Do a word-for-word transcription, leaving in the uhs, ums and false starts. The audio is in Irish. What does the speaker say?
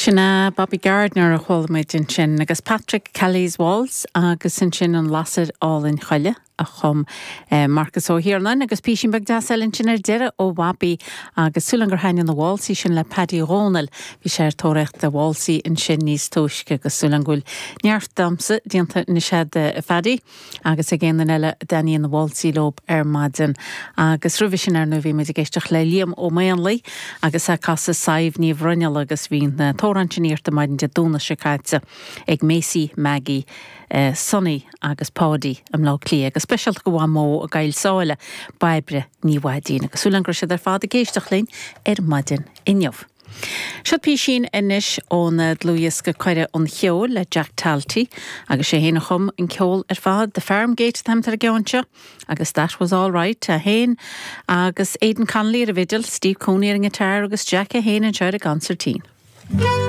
Sin é Bobby Gardiner a chuala muid ansin agus Patrick Kelly's Waltz agus ansin an Lasair Álainn Choille a chum eh, Marcus Ó hIarnáin agus písín beag deas eile ansin ar deireadh ó Bhobby agus súil gur thaitin na waltzaí sin le Paddy Dhónaill bhí sé ar tóraíocht de waltzaí ansin níos túisce agus súil go bhfuil neart damhsa déanta anois ag Phaddy agus ag aon eile a dtaitníonn na waltzaí leo ar maidin. Agus roimhe sin ar ndóigh bhí muid ag éisteacht le Liam Ó Maonlaí agus ag casadh Sadhbh Ní Bhruinneall agus bhí na t-amhrán sin iarrta maidin Dé Domhnaigh seo caite ag Macy Maggie. Uh, Sonny agus Páidí i mBleá Cliath agus speisialta go mhó a gail sáile Bairbre Ní Bháidín agus súil go raibh siad ar fad ag éisteacht linn ar maidin inniu. Seo písín anois ón dlúthdhiosca Cuireadh an Cheoil le Jack Talty agus sé féin a chum an ceol ar fad The Farm Gate an t-ainm ar an gceann seo agus that was all right é féin agus Aidan Connolly ar an bhfidil, Steve Cooney ar an guitar agus Jack é féin anseo ar an gconsairtín.